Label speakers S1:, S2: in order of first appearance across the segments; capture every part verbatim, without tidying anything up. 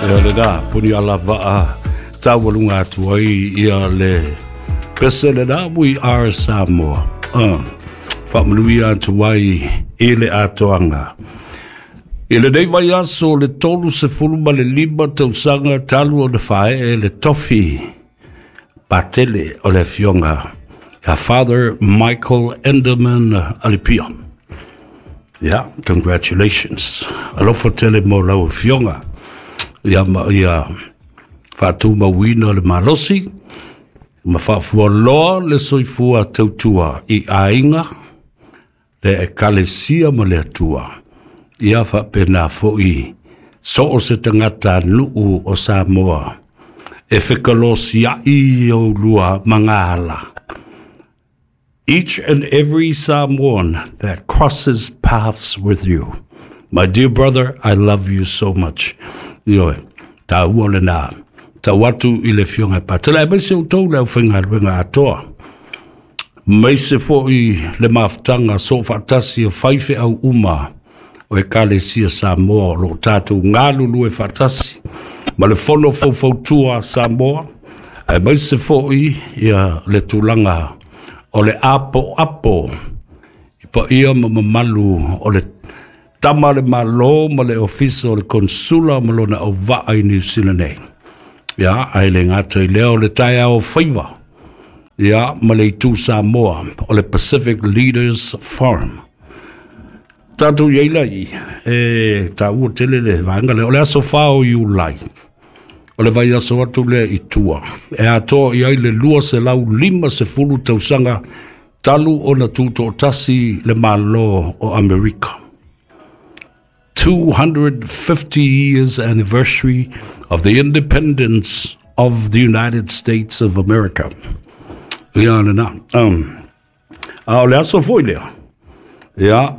S1: Ia lena, puni ala vaa taualuga atu ai ia le pese lena, We Are Samoa. Uh, faamanuia atu ai i le atoaga. I lenei vaiaso le tolu sefulu ma le lima tausaga talu ona faaee le tofi patele o le afioga ia Father Michael Enderman Alipia. Yeah, congratulations. Alofa tele mo lau afioga. Ia ma ia faatumauina le malosi ma faafualoa le soifua tautua i aiga, le ekalesia ma le Atua. Ia faapena fo'i so o se tagata nuu o Samoa e fekalosia'i oulua magala. Each and every Samoan that crosses paths with you. My dear brother, I love you so much. Ioe, taua lena. Tau atu i le afioga e patele. Aemaise outou le aufaigaluega atoa. Maise fo'i le mafutaga so faatasi o faifeau uma o Ekalesia Samoa o loo tatou galulue faatasi ma le fono faufautua a Samoa, aemaise fo'i ia le tulaga o le apo apo i paia ma mamalu o le tama le malo ma le ofisa o le konsula ma lona auvaa i Niu Sila nei. Ia, ae le gata i lea o le taeao faiva, ia, ma le itu Samoa o le Pacific Leaders Forum. Tatou iai lai, e taua tele le vaega lea. O le aso fa o Iulai, o le vaiaso atu lea i tua, e atoa i ai le lua selau lima sefulu tausaga talu ona tutoatasi le Malo o Amerika. two hundred fifty years anniversary of the independence of the United States of America. Ia lena. Um, a o le aso foi lea. Ia,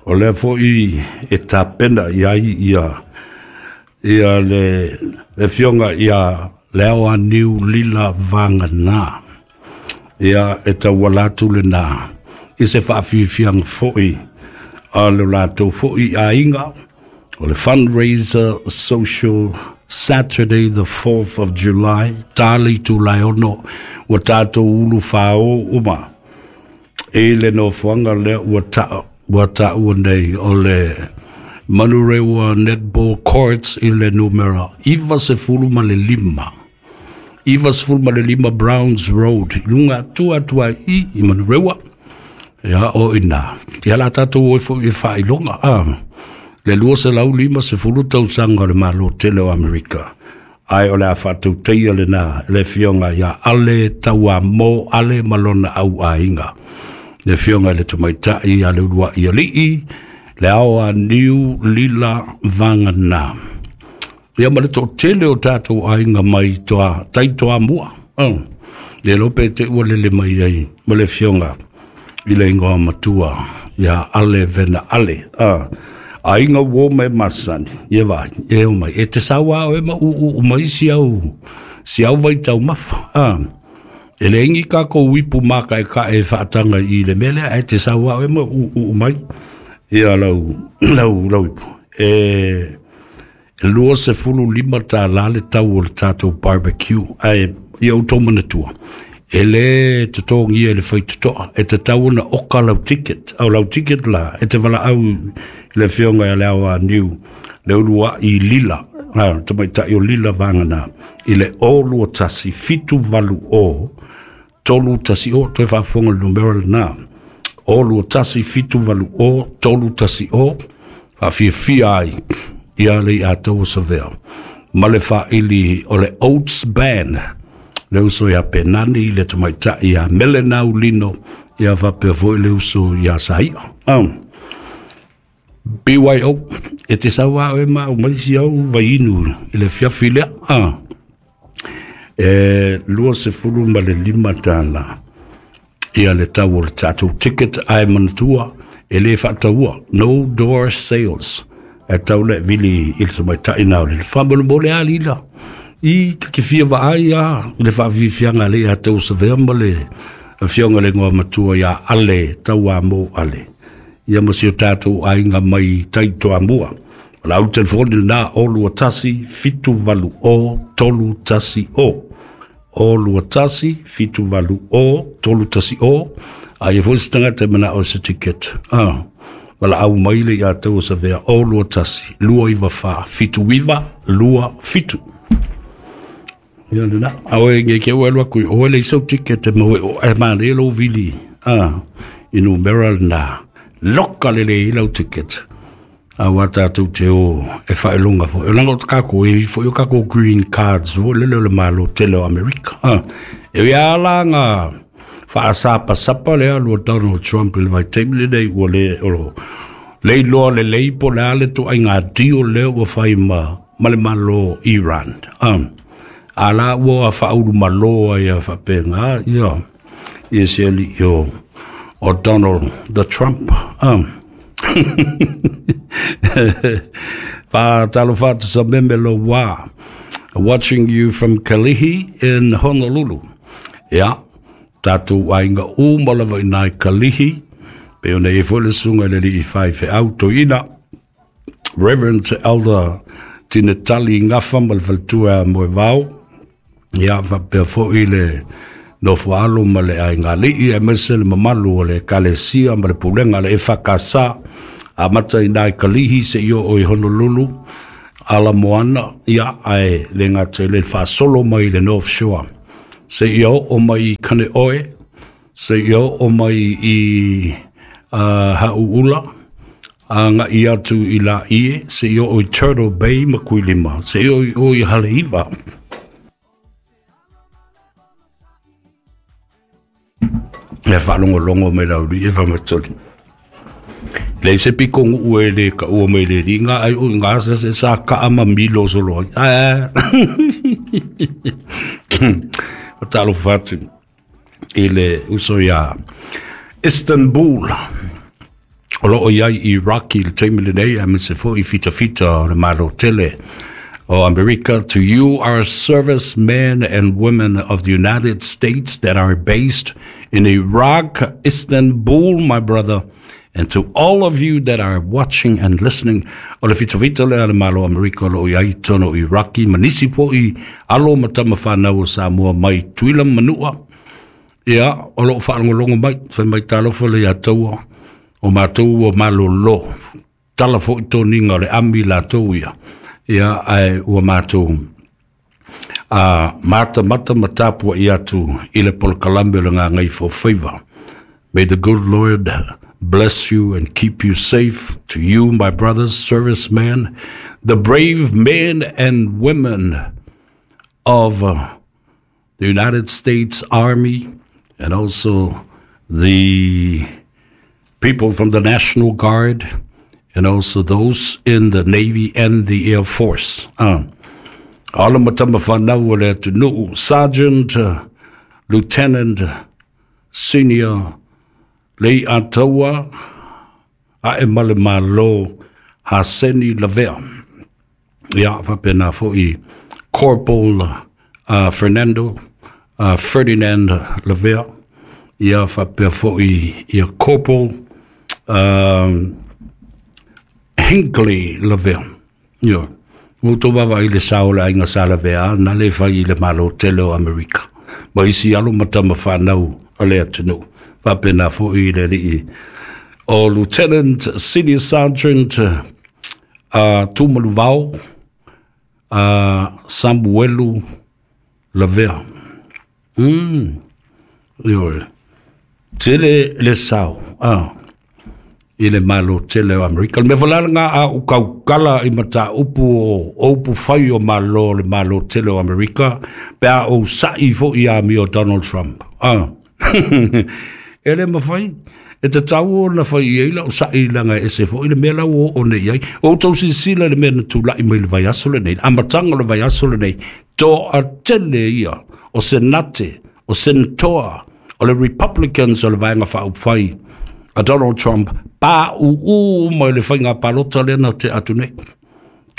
S1: o lea foi e tapena i ai ia, ia le, le afioga ia Leaoaniu Lila Vagana. Ia e tauala atu lena i se faafiafiaga foi a le latou foi aiga o le fundraiser social, Saturday the fourth of July, ta le itula e ono ua tatou ulu fāō uma i le nofoaga lea ua ta ua taua nei o le Manurewa Netball Courts i le numera iva sefulu ma le lima, iva sefulu ma le lima Browns Road, i luga atu atu ai i i Manurewa. Ia o ina ia la tatou o fo'i e faailoga a le lua selau lima sefulu tausaga o le Malo tele o Amerika, ae o le a faatauteia lena le afioga ia Ale Tauamo Ale ma lona au aiga, le afioga i le tamaitai ia Leulua'i Alii le ao a Niu Lila Vagana, ia ma le toatele o tatou aiga mai toa tai Toamua. Oh. Le lope te ua lele mai ai ma le afioga i le ingoa matua ia Ale Vena Ale. Ah. Aiga uo mai masani, ia vai, e o mai. E te saua o e ma u u mai si au, si au vai tau mafa. Ah. E le ingi ka ko ipu maka e ka e whaatanga i le mele, e te saua o e ma u u mai. Ia lau, lau, lau ipu. E, e lua sefulu lima tālā le tau o le tātou barbecue. Ae, ia outou manatua. E le totogia e le faitotoa. E te tau ona oka lau ticket. Au lau ticket la, e te wala au i le afioga ia Leaoaniu. Le ulua i Lila. Ah, tamaitai o Lila Vagana. I le o lua tasi, fitu valu o, tolu tasi o, toe faafofoga le numera lena. O lua tasi, fitu valu o, tolu tasi o, faafiafia ai ia le ia savea. Ma le faaili o le Oats Band, le uso ia Penani, le tamaitai ia Melenau Lino, ia faapea foi le uso ia Saia. Um, B Y O, e te saua o e ma mai si au vainu i le fiafi lea. Ah. E lua sefulu ma le lima tālā ia le tau o le tatou ticket, ae manatua e le faataua, no door sales, e tau le vili i le tamaitai na o le faamolemole a lila i ke fia vaai a i le faafiafiaga le ia tau savea ma le afioga le igoa matua ia Ale Tauamo Ale, ia ma si o tatou aiga mai tai Toamua. O le au telefoni lena o lua tasi fitu valu o tolu tasi o. O lua tasi fitu valu o tolu tasi o. A ia foi se tagata e manao se ticket. Ah. Wala au maile ia tau sa vea o lua tasi, lua iwa wha, fitu iwa, lua fitu. Ia lena, awe nge ke ua lua kui, o ele isau ticket e mawe o e mane lo vili. Ah, inu mera na, loka lele i lau ticket. A wa tātou te o e whaelonga fo. E langa o te kako, e fo i o kako green cards, fo lele o le malo tele o Amerika. Ah, e ia ala ngā whaasapa sapa lea lua Donald Trump i le vai taimi lenei ua le o le iloa lelei po le a le tuaiga dio lea ua fai ma ma le Malo Iran. Um, a la ua faaulu malo ai a faapega ia ia se alii o o Donald the Trump. Um. Faatalofa atu sa meme lo wā. Watching you from Kalihi in Honolulu. Ia, tātou aiga uma lava i nai Kalihi, pe ona e foi le susuga i le alii faifeau toeaina, Reverend Elder Tinetali Gafa ma le faletua Moevao, ia faapea foi le nofo alo ma le aiga alii, aemaise le mamalu o le Ekalesia ma le pulega le E F K S amata i nai Kalihi seia oo i Honolulu, ala moana, ia ae le gata i le faasolo mai i le North Shore. Seia oo mai i Kaneohe, seia oo mai i uh, Hauula, agai atu i Laie, seia oo i Turtle Bay ma Kuilima, seia oo i Haleiwa. E whaalongolongo mai lauli e whamatoli. Lei se piko nguu e le ka ua mai le ringa ai o ngā sa se sa ka ama milo solo ai. Ah. O talofa atu i le uso ia Istanbul. O loo iai i Iraq i le taimi lenei, aemaise foi i fitafita o le Malo tele o Amerika. To you, our servicemen and women of the United States that are based in Iraq, Istanbul, my brother, and to all of you that are watching and listening, o le fitafita lea le Malo Amerika o loo iai tonu Iraki, ma nisi foi alo ma tama whanau o Samoa mai Tuila Manua. Ia, o loo whaalongolongo mai, whai mai talofa le ia taua, o mātou o malolo, tala foi toniga o le ami latou ia. Ia, ae ua mātou a mata mata matapua i atu i le polokalame o le Gagaifomauga. May the good Lord bless you and keep you safe. To you, my brothers, servicemen, the brave men and women of uh, the United States Army, and also the people from the National Guard, and also those in the Navy and the Air Force. Uh, alo ma tama whanau o le atunuu, Sergeant, uh, Lieutenant, Senior, Lei Ataua, ae ma le Malo, Haseni Lavea. Ia, faapena foi Corporal uh, Fernando, uh, Ferdinand Lavea. Ia, faapea foi ia Corporal um, Hinkley Lavea. Ia, ua outou vaavaai i le sao o le aiga sa Lavea, na le fai i le Malo tele o Amerika. Ma isi alo ma tama whanau o le atunuu. Faapena foi i le alii o Lieutenant Senior Sergeant uh, Tumaluvao uh, Samuelu Lavea. Mm. Ioe. Tele le sao. Ah. I le Malo tele o Amerika. Le mea falala a u kaukala i mata upu o upu whai o malo le Malo tele o Amerika, pe a o sa'i fo i a mi o Donald Trump. Ah. E le mawhai, e te tau o na whai i eila o sa'i langa e se fo i le mea lau o o nei ai. O tau sisila le mea na tūlai mai le vaiaso le nei, amatanga le vaiaso le nei, to a tele ia o senate, o senatoa, o le Republicans o le vaenga whaupwhai a Donald Trump, pa u u mai le whainga palota le na te atu nei.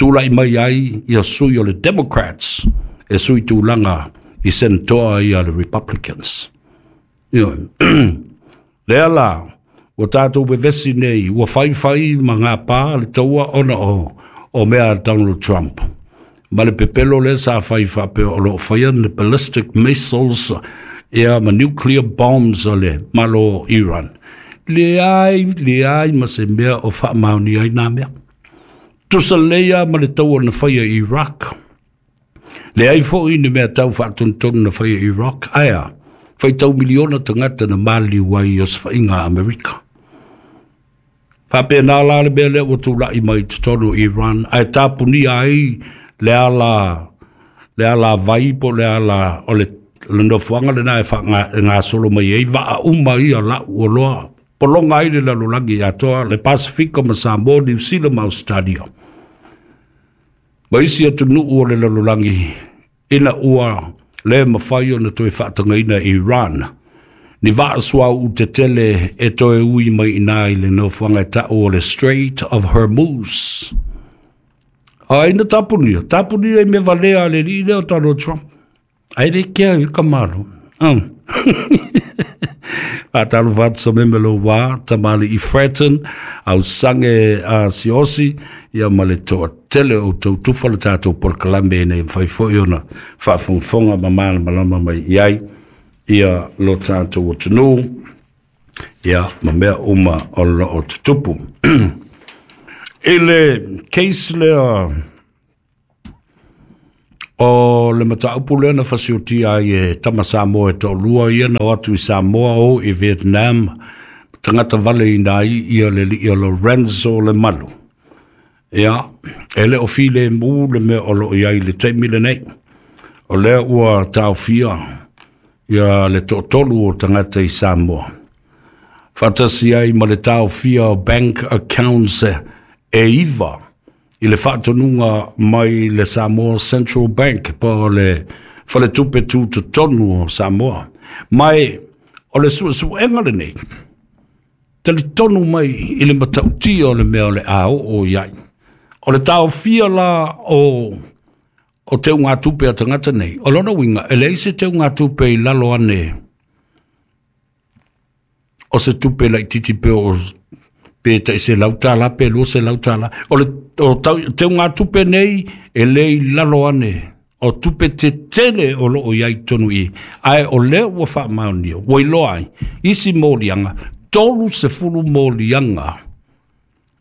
S1: Tūlai mai ai ia sui o le Democrats, e sui tūlanga i senatoa ia le Republicans. Ia, lea la, ua tātou wewesi nei, ua whai whai ma ngā pā le taua ona o, o mea a Donald Trump. Ma le pepelo lea sa fai faapea o loo faia ni ballistic missiles ia ma nuclear bombs a le Malo o Iran. Leai, leai ma se mea o faamaonia ai nā mea. Tusa lelei lava ma le taua na faia i Iraq. Leai foi ni mea tau faatonutonu na faia i Iraq. Ae a? Faitau miliona tagata na maliliu ai i osofaiga a Amerika. Faapena la le mea lea ua tulai mai i totonu o Iran, ae tapunia ai le ala le alavai po o le ala o le le nofoaga lena e faagasolo mai ai vaa uma ia lau oloa pologa ai le lalolagi atoa, le Pasifika ma Samoa, Niu Sila ma Ausetalia ma isi atunuu o le lalolagi, ina ua le mafai ona toe faatagaina e Iran ni vaa suauu tetele e toe ui mai i ina i le nofoaga e taʻu o le Strait of Hormuz. Ai na tapunia, tapunia i mea valea a le alii lea o Donald Trump. Ai le kea i ka malo. Um. Faatalofa atu sa meme lou wā, tamali'i Fratton, au sange a Siosi, ia ma le toatele o outou tufa le tatou polokalame ina ia mafai foi ona faafogafoga ma malamalama mai i ai ia lo tatou atunuu, ia ma mea uma o lo o tutupu. I le case lea o le mataupu lea na fasiotia ai e tama Samoa e toalua ia na o atu i Samoa o i Vietnam, tagata valeina ai ia le alii o Lorenzo Lemalu. Ia, e le o filemu le mea o lo o i ai i le taimi lenei. O lea ua taofia ia le toatolu o tagata i Samoa, faatasi ai ma le taofia o bank accounts e iva i le faatonuga mai le Samoa Central Bank po o le Faletupe Tutotonu o Samoa. Ma o le suesuega lenei, talitonu mai i le matautia o le mea o le a oo i ai. O le taofia la o o teugatupe a tagata nei, o lona uiga e leai se teugatupe i lalo ane o se tupe laitiiti pe o pe tai selau tala pe lua selau tala. O le o teugatupe nei e le i lalo ane o tupe tetele o loo i ai i totonu i i, ae o lea ua faamaonia ua iloa ai isi moliaga, tolu sefulu moliaga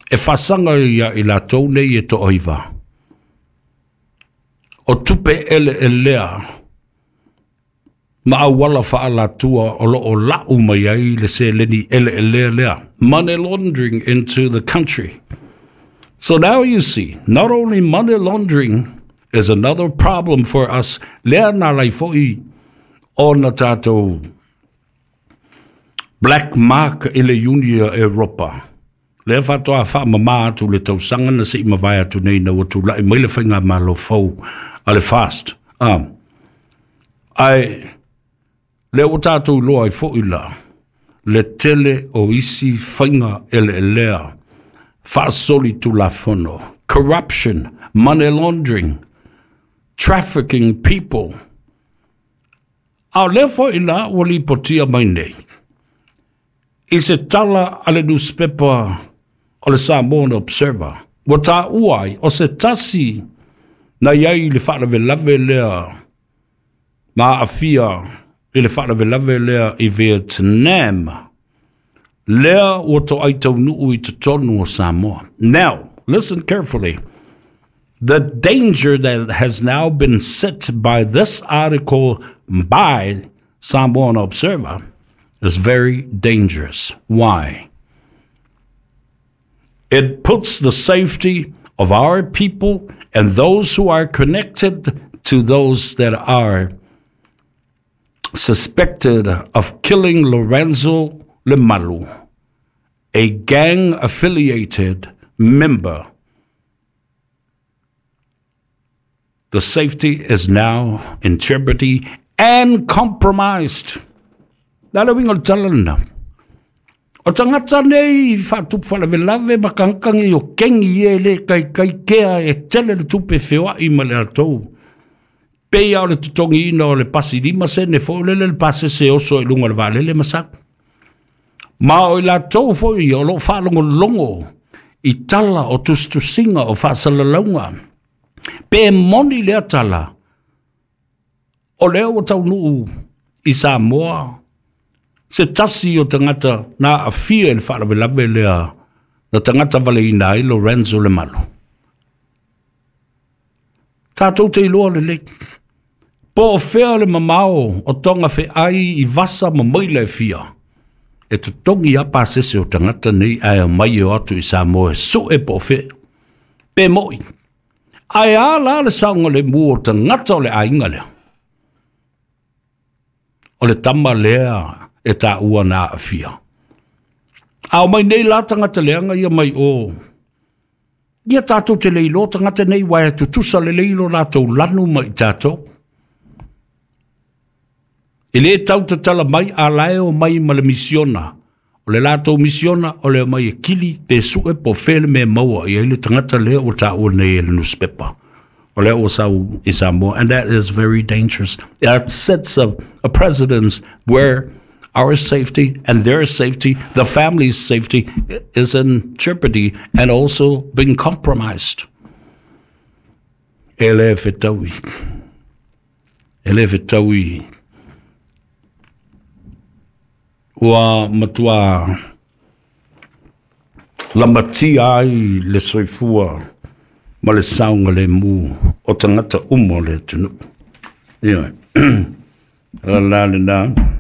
S1: e faasaga ia i latou nei e toaiva o tupe eleelea ma auala faalatua o loo lau mai ai le seleni eleelea lea, money laundering into the country. So now you see, not only money laundering is another problem for us, lea na ala ai foi ona tatou black mark i le Iunia Europa. Lea faatoa faamama atu le tausaga na se i mavae atu nei ina ua tulai mai le faigamalo fou a le FAST. Ah. Ae lea ua tatou iloa ai foi la le tele o isi faiga eleelea faasolitulafono, corruption, money laundering, trafficking people. A o lea foi la ua lipotia mai nei i se tala a le nusipepa o le Samoan Observer, ua taua ai o se tasi na i ai i le faalavelave lea ma aafia i le faalavelave lea i Vietnam, lea ua toai taunuu i totonu o Samoa. Now, listen carefully. The danger that has now been set by this article by Samoan Observer is very dangerous. Why? It puts the safety of our people and those who are connected to those that are suspected of killing Lorenzo Lemalu, a gang-affiliated member. The safety is now in jeopardy and compromised. Le a le uiga o le tala lena? O tagata nei i faatupu faalavelave ma kagakagi o kengi e le kaikai kea e tele le tupe feoai ma le latou. Pei lava o le totogiina o le pasi lima sene foi lele le pasese e oso i luga o le vaalele ma sau. Ma o i latou foi ia o lo o faalogologo I tala o tusitusiga o faasalalauga pe moni lea tala o lea ua taunuu i Samoa se tasi o tagata na aafia i le faalavelave lea na tagata valeina ai Lorenzo Lemalu. Tatou te iloa lelei po o fea le mamao o toga feai i vasa ma maila e fia e totogi a pasese o tagata nei ae omai e o atu i Samoa e sue po o fea pe mo'i. Ae a la le saogalemu o tagata o le aiga lea? O le tama lea e taua na aafia. A omai nei la tagata leaga ia mai o ia, tatou te le iloa tagata nei, uae e tutusa lelei lo latou lanu ma i tatou. E lē tau tatala mai a lae o mai ma le misiona. O le latou misiona o le omai e kili pe sue po fea le mea maua i ai le tagata lea ua taua nei e le newspaper. O lea ua sau i Samoa, and that is very dangerous. It sets a, a precedence where our safety and their safety, the family's safety, is in jeopardy and also being compromised. E le fetaui. E le fetaui. Ua matua lamatia ai le soifua ma le saogalemu o tagata uma o le atunuu. Ioe. La la lena.